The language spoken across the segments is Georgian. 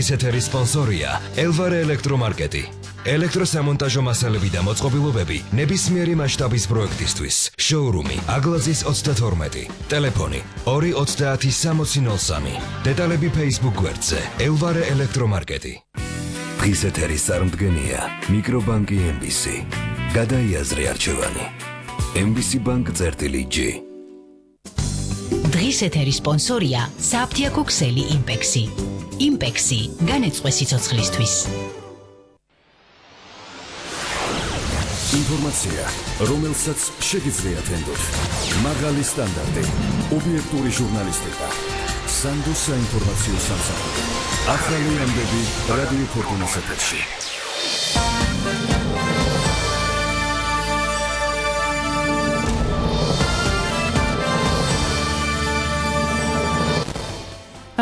დღის ეთერის სპონსორია ელვარე ელექტრომარკეტი. ელექტროსამონტაჟო მასალები და მოწყობილობები ნებისმიერი მასშტაბის პროექტისთვის. შოურუმი აგლაძის 32. ტელეფონი 2306003. დეტალები Facebook გვერდზე ელვარე ელექტრომარკეტი. დღის ეთერის წარმდგენია მიკრობანკი MBC. გადაიაზრე არჩევანი. MBC Bank-G. დღის ეთერის სპონსორია საფთიაქო ქსელი იმპექსი. იმპექსი განეწყვე სიცოცხლისთვის. ინფორმაცია, რომელსაც შეგიძლიათ ენდოთ. მაღალი სტანდარტი, ობიექტური ჟურნალისტიკა. სანდო საინფორმაციო სამსახური. ახალი ამბები რადიო ფორტუნას ეთერში.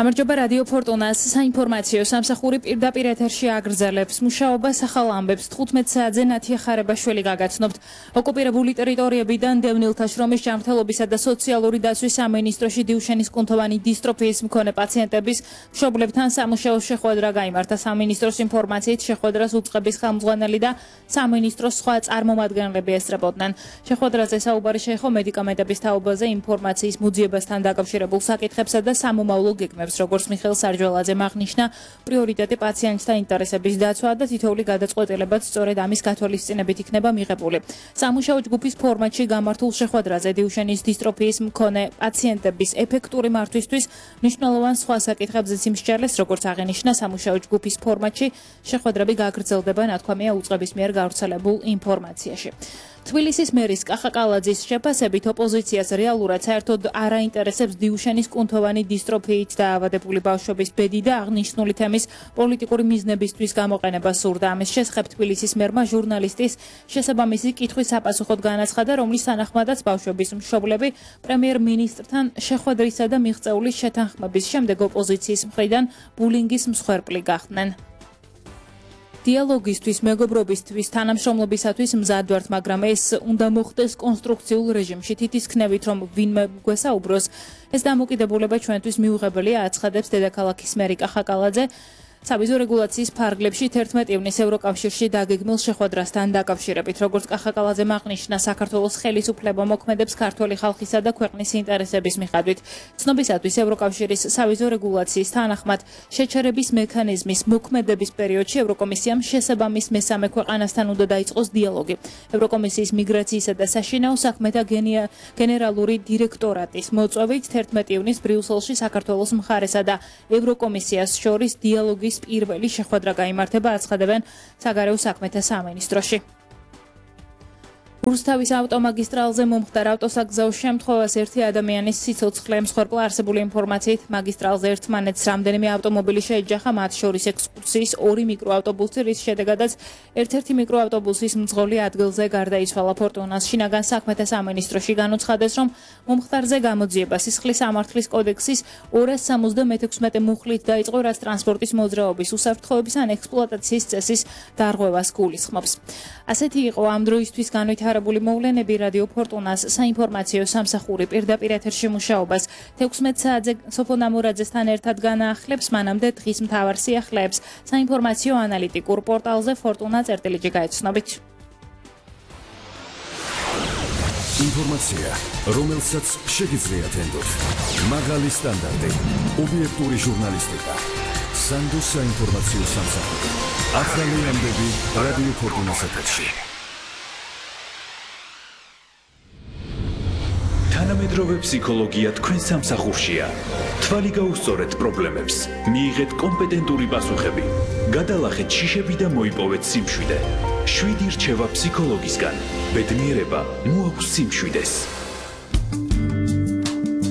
გამარჯობა რადიო ფორტუნას საინფორმაციო სამსახური პირდაპირ ეთერში აგრძელებს მუშაობას ახალ ამბებს 15 საათზე ნათია ხარებაშვილი გაგაცნობთ. ოკუპირებული ტერიტორიებიდან დევნილთა შრომის ჯანმრთელობისა და სოციალური დაცვის სამინისტროში დიუშენის კუნთოვანი დისტროფიის მქონე პაციენტების მშობლებთან სამუშაო შეხვედრა გაიმართა. სამინისტროს ინფორმაციით შეხვედრას უწყების ხელმძღვანელი და სამინისტროს სხვა წარმომადგენლები ესწრებოდნენ. შეხვედრაზე საუბარი შეეხო მედიკამენტების თაობაზე, ინფორმაციის მოძიებასთან დაკავშირებულ საკითხებსა და სამომავლო გეგმებს. როგორც მიხეილ სარჯველაძემ აღნიშნა, პრიორიტეტი პაციენტთა ინტერესების დაცვა და თითოეული გადაწყვეტილებაც სწორედ ამის გათვალისწინებით იქნება მიღებული. სამუშაო ჯგუფის ფორმატში გამართულ შეხვედრაზე დიუშენის დისტროფიის მქონე პაციენტების ეფექტური მართვისთვის მნიშვნელოვან სხვა საკითხებზეც იმსჯელეს, როგორც აღინიშნა სამუშაო ჯგუფის ფორმატში შეხვედრები გაგრძელდება ნათქვამია უწყების მიერ გავრცელებულ ინფორმაციაში. თბილისის მერის კახა კალაძის შეფასებით ოპოზიციას რეალურად საერთოდ არ აინტერესებს დიუშენის კუნთოვანი დისტროფიით დაავადებული ბავშვების ბედი და აღნიშნული თემის პოლიტიკური მიზნებისთვის გამოყენება სურდა. ამის შესახებ თბილისის მერმა ჟურნალისტის შესაბამისი კითხვის საპასუხოდ განაცხადა, რომლის თანახმადაც ბავშვების მშობლები პრემიერ-მინისტრთან შეხვედრისა და მიღწეული შეთანხმების შემდეგ ოპოზიციის მხრიდან ბულინგის მსხვერპლი გახდნენ. დიალოგისთვის, მეგობრობისთვის, თანამშრომლობისათვის მზად ვართ, მაგრამ ეს უნდა მოხდეს კონსტრუქციულ რეჟიმში. თითქმის რომ ვინმე გვესაუბროს, ეს დამოკიდებულება ჩვენთვის მიუღებელია, აცხადებს დედაქალაქის მერი კახა კალაძე. საბიზო რეგულაციის ფარგლებში 11 ივნისს ევროკავშირში დაგეგმილ შეხვედრასთან დაკავშირებით. როგორც კახა კალაძემ აღნიშნა, საქართველოს ხელისუფლება მოქმედებს ქართველი ხალხისა და ქვეყნის ინტერესების მიხედვით. ცნობისათვის ევროკავშირის საბიზო რეგულაციის თანახმად შეჩერების მექანიზმის მოქმედების პერიოდში ევროკომისიამ შესაბამის მესამე ქვეყანასთან უნდა დაიწყოს დიალოგი. ევროკომისიის მიგრაციისა და საშინაო საქმეთა გენერალური დირექტორატის მოწვევით 11 ივნისს ბრიუსელში საქართველოს მხარესა და ევროკომისიას შორის დიალოგი პირველი შეხვედრა გაიმართება, აცხადებენ საგარეო საქმეთა სამინისტროში. რუსთავის ავტომაგისტრალზე მომხდარ ავტოსაგზაო შემთხვევას ერთი ადამიანის სიცოცხლე მსხვერპლა. არსებული ინფორმაციით მაგისტრალზე ერთმანეთს რამდენიმე ავტომობილი შეეჯახა, მათ შორის ექსკურსიის 2 მიკროავტობუსი, რის შედეგადაც ერთ-ერთი მიკროავტობუსის მძღოლი ადგილზე გარდაიცვალა. ფორტუნას შინაგან საქმეთა სამინისტროში განუცხადეს, რომ მომხდარზე გამოძიება სისხლის სამართლის კოდექსის 276 მუხლით დაიწყო, რაც ტრანსპორტის მოძრაობის, უსაფრთხოების ან ექსპლუატაციის წესის დარღვევას გულისხმობს. ასეთი იყო ამ დროისთვის განვითარებული მოვლენები. რადიო ფორტუნას საინფორმაციო სამსახური პირდაპირ ეთერში მუშაობას 16 საათზე სოფონ ამურაძესთან ერთად განაახლებს. მანამდე დღის მთავარ სიახლეებს საინფორმაციო ანალიტიკურ პორტალზე fortuna.gr გაეცნობით. ინფორმაცია, რომელსაც შეგიძლიათ ენდოთ. მაღალი სტანდარტი, ობიექტური ჟურნალისტიკა. სანდო საინფორმაციო სამსახური. ახალი ამბები რადიო ფორტუნას ეთერში. თანამედროვე ფსიქოლოგია თქვენ სამსახურშია. თვალი გაუსწორეთ პრობლემებს, მიიღეთ კომპეტენტური პასუხები, გადალახეთ შიშები და მოიპოვეთ სიმშვიდე. 7 რჩევა ფსიქოლოგისგან. ბედნიერება მოაქვს სიმშვიდეს.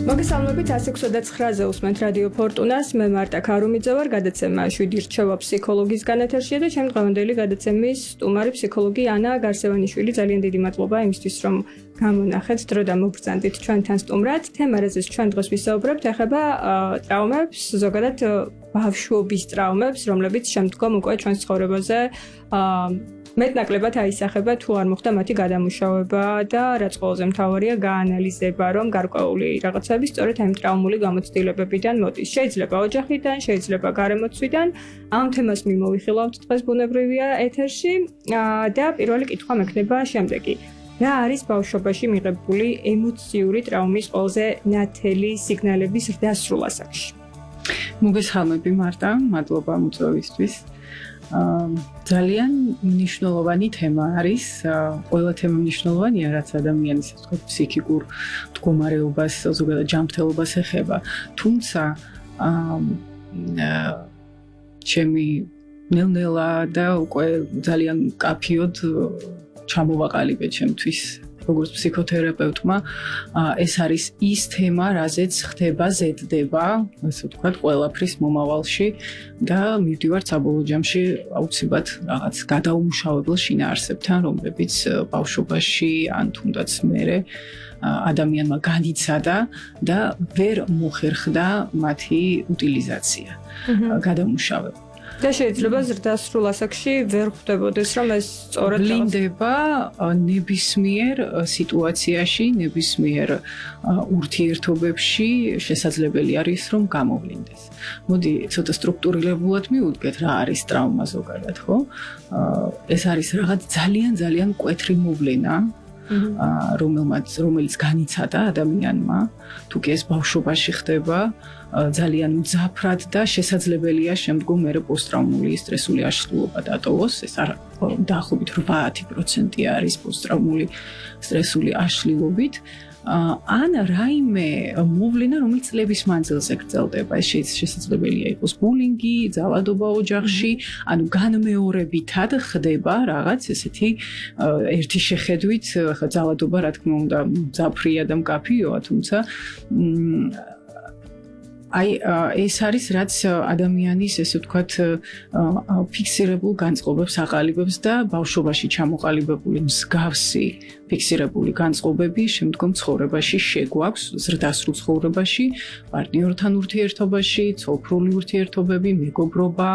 მოგესალმებით 169-ზე უსმენთ რადიო ფორტუნას. მე მარტა ქარუმიძე ვარ, გადაცემა 7 რჩევა ფსიქოლოგისგან ეთერშია და ჩემი დღევანდელი გადაცემის სტუმარი ფსიქოლოგი ანა გარსევანიშვილი. ძალიან დიდი მადლობა იმისთვის, რომ გამონახეთ დრო და მოგბრძანდით ჩვენთან სტუმრად. თემა, რაზეც ჩვენ დღეს ვისაუბრებთ, ეხება ტრავმებს, ზოგადად ბავშვობის ტრავმებს, რომლებიც შემდგომ უკვე ჩვენს ცხოვრებაზე მეტნაკლებად აისახება თუ არ მოხდა მათი გადამუშავება და რაც ყველაზე მთავარია გაანალიზება, რომ გარკვეული რაღაცები სწორედ ამ ტრაუმული გამოცდილებებიდან მოდის. შეიძლება ოჯახიდან, შეიძლება გარემოცვიდან. ამ თემას მიმოვიხილავთ დღეს ბუნებრივია ეთერში და პირველი კითხვა მექნება შემდეგი. რა არის ბავშვობაში მიღებული ემოციური ტრაუმის ყველაზე ნათელი სიგნალების ზრდასრულ ასაკში? მოგესალმები მარტა, მადლობა მოწვევისთვის. ძალიან მნიშვნელოვანი თემა არის, ყველა თემა მნიშვნელოვანია, რაც ადამიანის ფსიქიკურ მდგომარეობას, ზოგადად ჯანმრთელობას ეხება. თუმცა ჩემი ნელ-ნელა და უკვე ძალიან კაფიოდ ჩამოვაყალიბე ჩემთვის როგორც ფსიქოთერაპევტმა ეს არის ის თემა, რაზეც ხდება ზედდება, ასე ვთქვათ, ყველაფრის მომავალში და მივდივართ საბოლოო ჯამში აუცილებლად რაღაც გადაუმუშავებელ შინაარსებთან, რომლებიც ბავშვობაში ან თუნდაც მერე ადამიანმა განიცადა და ვერ მოხერხდა მათი უტილიზაცია, გადამუშავება. და შეიძლება ზრდასრულ ასაკში ვერ ხვდებოდეს, რომ ეს სწორად ვლინდება ნებისმიერ სიტუაციაში, ნებისმიერ ურთიერთობებში შესაძლებელი არის, რომ გამოვლინდეს. მოდი ცოტა სტრუქტურირებულად მივუდგეთ, რა არის ტრავმა ზოგადად, ხო? ეს არის რაღაც ძალიან მკვეთრი მოვლენა, რომელიც განიცადა ადამიანმა, თუ კი ეს ბავშვობაში ხდება, ძალიან მძაფრად და შესაძლებელია შემდგომ მერე პოსტტრაუმული სტრესული აშლილობა დატოვოს. ეს დაახლოებით 80% არის პოსტტრაუმული სტრესული აშლილობით. ან რაიმე მოვლენა, რომელიც წლების მანძილზე გრძელდება. ეს შესაძლებელია იყოს ბულინგი, ძალადობა ოჯახში, ანუ განმეორებითად ხდება რაღაც ესეთი ერთი შეხედვით, ხა ძალადობა რა თქმა უნდა მძაფრია და მკაფიოა, თუმცა ეს არის რაც ადამიანის ესე ვთქვათ ფიქსირებულ განწყობებს აყალიბებს და ბავშვობაში ჩამოყალიბებული მსგავსი ფიქსირებული განწყობები შემდგომ ცხოვრებაში შეგვაქვს ზრდასრულ ცხოვრებაში, პარტნიორთან ურთიერთობაში, ცოლ-ქმრული ურთიერთობები, მეგობრობა,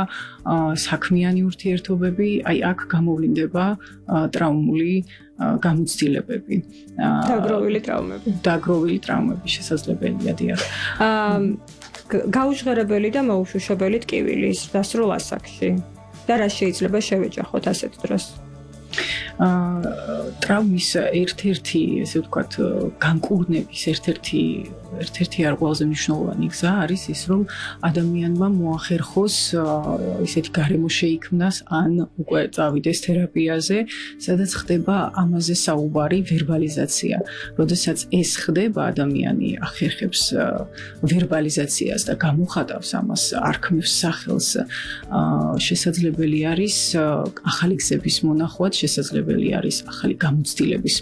საქმიანი ურთიერთობები, აი აქ გამოვლინდება ტრაუმული გამოცდილებები. დაგროვილი ტრავმები შესაძლებელია, დიახ. გაუჟღერებელი და მოუშვიშებელი ტკივილი ზრდასრულ ასაკში და რა შეიძლება შევეჯახოთ ასეთ დროს? ტრავმის ერთ-ერთი, ესე ვთქვათ, განკურნების ერთ-ერთი არ ყველაზე მნიშვნელოვანი გზა არის ის, რომ ადამიანმა მოახერხოს ისეთი გარემო შეიქმნას, ან უკვე წავიდეს თერაპიაზე, სადაც ხდება ამაზე საუბარი, ვერბალიზაცია. როდესაც ეს ხდება, ადამიანი ახერხებს ვერბალიზაციას და გამოხატავს ამას, არქმევს სახელს, შესაძლებელი არის ახალი გზების მონახვაც, შესაძლებელი არის ახალი გამოცდილების